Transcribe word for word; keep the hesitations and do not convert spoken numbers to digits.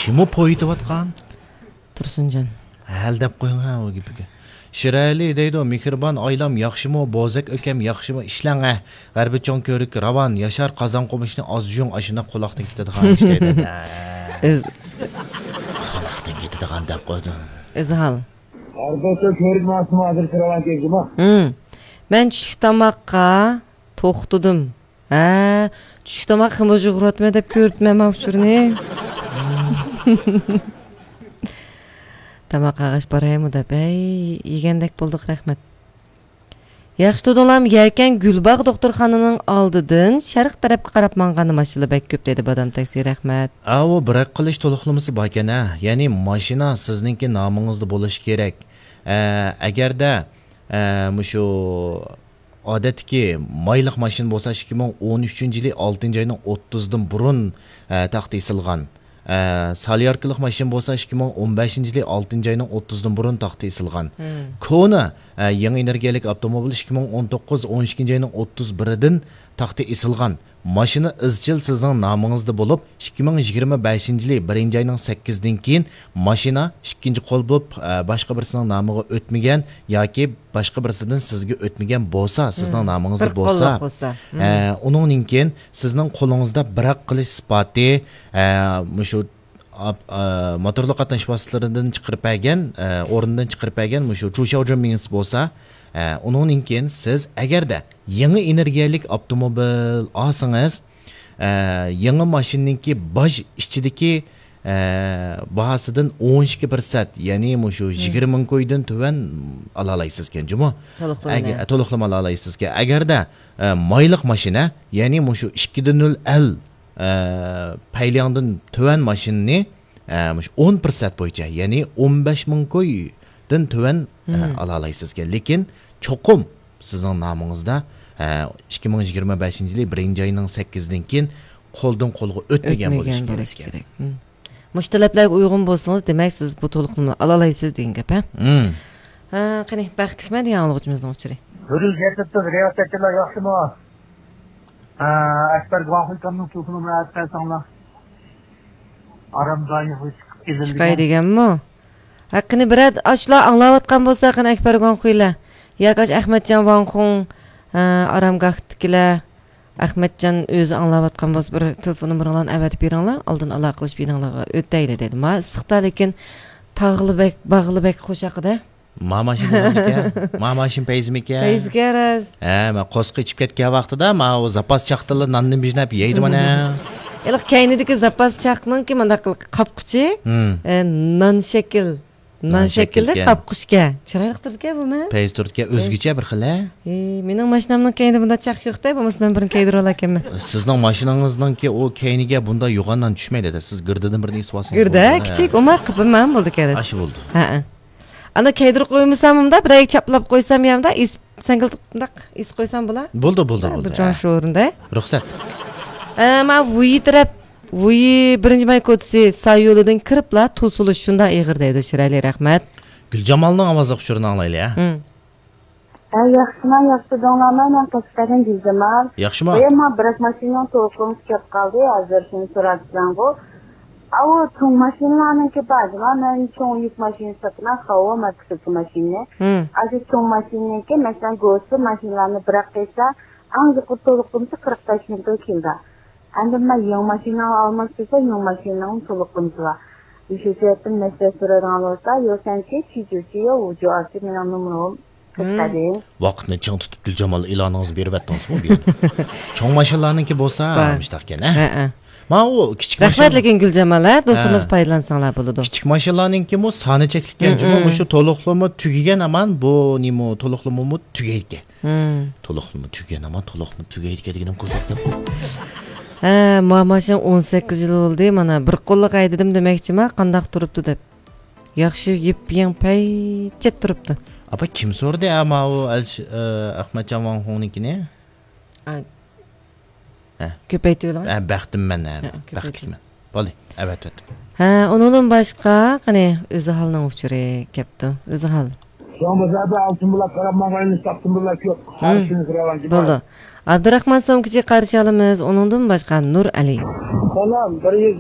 نېمە پويىتىۋاتقان؟ تۇرسۇنجان. ھەل دەپ قويۇڭ ھە ئۇ گېپىگە. شىرئەلى دەيدۇ، مېھرىبان ئايلام ياخشىمۇ، بوزەك ئۆكەم ياخشىمۇ، ئىشلەڭ ھە. غەربىي چوڭ كۆۋرۈككە راۋان، ياشار قازان قومۇشنى ئاز جۇيۇڭ، ئاشۇنداق قۇلاقتىن كېتىدىغان ئىش دەيدۇ. ئۆز- قۇلاقتىن كېتىدىغان دەپ قويدۇم. ئۆزھال. ھەر بولسا كۆۋرۈك ماڭسىمۇ ھازىر كىرىۋالغان كەيگىما. ھىم. مەن چۈشلۈك تاماققا توختىدىم. ھە، چۈشلۈك تاماق خېمىر يۇغۇرۇۋاتىمەن دەپ كۆرۈپتىمەن ماۋۇ ئۇچۇرنى. تاماق قاغاچ بارايمۇ دەپ، ھەي، يېگەندەك بولدۇق، رەھمەت. ياخشى تۇردۇڭلارمۇ؟ يەكەن گۈلباغ دوختۇرخانىنىڭ ئالدىدىن شەرق تەرەپكە قاراپ ماڭغاندا ماشىنىلار بەك كۆپ دەيدۇ، بادام تاكسى، رەھمەت. ئاۋۇ بىر ئەققىلىش تولۇقلىمىسى باركەن ھە، يەنى ماشىنا سىزنىڭكى نامىڭىزدا بولۇشى كېرەك. ئە، ئەگەردە، ئە، مۇشۇ ئادەتتىكى مايلىق ماشىنا بولسا ئىككى مىڭ ئون ئۈچىنچى يىلى ئالتىنچى ئاينىڭ ئوتتۇزىدىن بۇرۇن، ئە، تاختا ئېسىلغان. ئە، سالياركىلىق ماشىنا بولسا ئىككى مىڭ ئون بەشىنچى يىلى ئالتىنچى ئاينىڭ ئوتتۇزىدىن بۇرۇن تاختا ئېسىلغان. مم. كونا، ئە، يېڭى ئېنېرگىيەلىك ئاپتوموبىل ئىككى مىڭ ئون توققۇز ئون ئىككىنچى ئاينىڭ ئوتتۇز بىرىدىن تاختا ئېسىلغان. ماشىنا ئىزچىل سىزنىڭ نامىڭىزدا بولۇپ، ئىككى مىڭ يىگىرمە بەشىنچى يىلى بىرىنچى ئاينىڭ سەككىزىدىن كېيىن ماشىنا ئىككىنچى قول بولۇپ، ئە، باشقا بىرسىنىڭ نامىغا ئۆتمىگەن ياكى باشقا بىرسىدىن سىزگە ئۆتمىگەن بولسا، سىزنىڭ مم. نامىڭىزدا بىر بولسا، قوللۇق بولسا. مم. ئە، ئۇنىڭدىن كېيىن سىزنىڭ قولىڭىزدا بىر ھەق قىلىش ئىسپاتى، ئە، مۇشۇ ئاپ-، ئە، موتورلۇق قاتناش ۋاسىتىلىرىدىن چىقىرىپ بەرگەن، ئە، ئورنىدىن چىقىرىپ بەرگەن مۇشۇ چۇشياۋجۈەن مېڭىسى بولسا، ئە، ئۇنىڭدىن كېيىن سىز ئەگەردە يېڭى ئېنېرگىيەلىك ئاپتوموبىل ئالسىڭىز، ئە، يېڭى ماشىنىنىڭكى باج ئىچىدىكى، ئە، باھاسىدىن ئون ئىككى پىرسەنت، يەنى مۇشۇ مم. يىگىرمە مىڭ كويدىن تۆۋەن ئالالايسىزكەن جۇمۇ. تولۇقلىما. ئەگە-، تولۇقلىما ئالالايسىزكەن. ئەگەردە، ئە، مايلىق ماشىنا، يەنى مۇشۇ ئىككى دە نۆل ئەل، ئە، پەيلياڭدىن تۆۋەن ماشىنىنى، ئە، مۇشۇ ئون پىرسەنت بويىچە، يەنى ئون بەش مىڭ كويدىن تۆۋەن، ئە، مم. ئالالايسىزكەن. لېكىن چوقۇم سىزنىڭ نامىڭىزدا، ئە، ئىككى مىڭ يىگىرمە بەشىنچى يىلى بىرىنچى ئاينىڭ سەككىزىدىن كېيىن قولدىن قولغا ئۆتمىگەن بولۇشى كېرەك. مم. مۇشۇ تەلەپلەرگە ئۇيغۇن بولسىڭىز، دېمەك، سىز بۇ تولۇقلىمىنى ئالالايسىز دېگەن گەپ، ھە؟ مم. ھە، قېنى، بەختلىكمەن دېگەن ئاڭلىغۇچىمىزنىڭ ئۇچۇرى. ھۆرۈر يەتتە رىياسەتچىلەر ياخشىمۇ؟ ئە، ئەكبەر گۇاڭخۇي كامنىڭ تېلېفونىنى ئەۋەتىپ بەرسەڭلار. ئارام دايىغا چىقىپ كېلىدىغان. چىقاي دېگەنمۇ؟ ھە، قېنى، بىرەر ئاشۇلار ئاڭلاۋاتقان بولسا، قېنى، ئەكبەر گۇاڭخۇيلار ياكى ئاشۇ ئەخمەتجان ۋاڭخۇڭ، ئە، ئارامگاھتىكىلەر، ئەخمەتجان ئۆزى ئاڭلاۋاتقان بولسا، بىر تېلېفون نومۇرۇڭلارنى ئەۋەتىپ بېرىڭلار، ئالدىن ئالاقىلىشىپ يېنىڭلارغا ئۆتەيلى دەيدۇ. ما ئىسسىقتا، لېكىن تاغلىبەگ، باغلىبەگ قوشاقىدا. ما ماشىنا نېمىكەن؟ ما ماشىنا پەيزىمىكەن؟ پەيزىكەن راست. ھە، ما قورسىقى ئىچىپ كەتكەن ۋاقتىدا، ما ئۇ زاپاس چاقتىلا ناننى بىژنەپ يەيدۇ مانا. ھېلىقى كەينىدىكى زاپاس چاقنىڭكى مۇنداق قاپقۇچى، ھىم. ئە، نان شەكىل. نان نان شەكىللىك شەكىلكەن. قاپقۇچكەن. چىرايلىق تۇرىدىكەن بۇمۇ. پەيز تۇرىدىكەن، ئۆزگىچە بىر خىل، ھە؟ ئى، مېنىڭ ماشىنامنىڭ كەينىدە بۇنداق چاق يوق-دە، بولمىسا مەن بىرنى كىيدۈرۈۋالاركەنمەن. سىزنىڭ ماشىنىڭىزنىڭكى ئۇ كەينىگە بۇنداق يوغان نان چۈشمەيدۇ-دە، سىز گىردىدىن بىرنى ئېسىۋالسىڭىز گىردە، بولىدۇ، ھە. كىچىك، ئۇما قىپىمان بولدى كەلسە. ئاشۇ بولدى. ھەئە. ئانا كەيدۈرۈپ قويمىساممۇ بۇنداق بىرەيگە چاپلاپ قويسام يا بۇنداق ئېسىپ سەڭگىلتىپ بۇنداق ئېسىپ قويسام بولا. بولدى، بولدى، ھە، بولدى، بىر جان ھە. شورۇندا. رۇخسەت. ئە، ما ۋۇيى تەرەپ، ۋۇيى بىرىنچى ماي كوچىسى سايولىدىن كىرىپلا تۇل سولۇش شۇنداق ئېغىر دەيدۇ، شىرئەلى، رەھمەت. گۈلجامالنىڭ ئاۋازلىق ئۇچۇرىنى ئاڭلايلى، ھە. ھە. ھە، ياخشىما، ياخشى تۇردۇڭلارمۇ؟ مەن قەشقەردىن گۈلجامال. ياخشىما؟ بايا ما بىراك ماشىنىنىڭ تولۇقلىمىسى كەپ قالدى، ھازىر شۇنى سوراپ سىلەڭغۇ. ئاۋۇ چوڭ ماشىنىلارنىڭكى بار جۇما، مەن چوڭ يۈك ماشىنىسى ساتىمەن، خاۋا ماركىسىدىكى ماشىنىنى. ھىم. ئاشۇ چوڭ ماشىنىنىڭكى، مەسىلەن، گوسى ماشىنىلارنى بىراق قىلسا، ئەڭ يۇقىرى تولۇقلىمىسى قىرىق بەش مىڭ كېلىدۇ. ئەمدى مەن يېڭى ماشىنا ئالماقچى بولسام، يېڭى ماشىنىنىڭ تولۇقلىمىسى بار. شۇ سەۋەبتىن مەسلىھەت سورايدىغان بولسا، يو سەنچى، چى جۇ چى، يو ۋۇ جۇ ئارچى، مېنىڭ نومۇرۇم. ھىم. ۋاقىتنى چىڭ تۇتۇپ، گۈلجامال، ئېلانىڭىزنى بېرىۋەتتىڭىزمۇ بۇ يەردە؟ چوڭ ماشىنىلارنىڭكى بولسا بار. مۇشتاقكەن، ھە؟ ھەئە. ما ئۇ كىچىك رەھمەت، ماشىنا لېكىن گۈلجامال، ھە، دوستىمىز ھە. پايدىلانساڭلار بولىدۇ. كىچىك ماشىنىلارنىڭكىمۇ سانى چەكلىككەن جۇمۇ، ھىم. مۇشۇ تولۇقلىما تۈگىگەن ھامان بۇ نېمە، تولۇقلىمىمۇ تۈگەيدىكەن. ھىم. تولۇقلىما تۈگىگەن ھامان تولۇقلىما تۈگەيدىكەن دېگىنىم قىزىق گەپ. ھە، ما ماشىنا ئون سەككىز يىل بولدى، مانا بىر قوللۇق ھەيدىدىم دېمەكچىما، قانداق تۇرۇپتۇ دەپ. ياخشى يىپ-يېڭى پەيچەت تۇرۇپتۇ. ئاپا، كىم سورىدى، ئە، ماۋۇ ئەلش-، ئە، ئەخمەتجان ۋاڭخۇڭنىڭكىنى؟ ئا. ھە. كۆپەيتىۋېلىڭ. ھە، بەختىممەن، ھە، ھە، كۆپەيتىۋېلىڭ. بەختلىكمەن. بولدى، ئەۋەتىۋەتتىم. ھە، ئۇنىڭدىن باشقا، قېنى، ئۆزھالنىڭ ئۇچۇرى كەپتۇ. ئۆزھال. شۇڭا بازاردا ئالتۇن بۇلاپ قاراپ ماڭغان ئىش تاپتىن بۇلاپ يوق. ھىم. قارشىنى سوراۋاتىمەن. بولدى. ئابدۇراخمان سومكىچى قارشى ئالىمىز، ئۇنىڭدىن باشقا نۇر ئەلى. سالام، بىر يۈز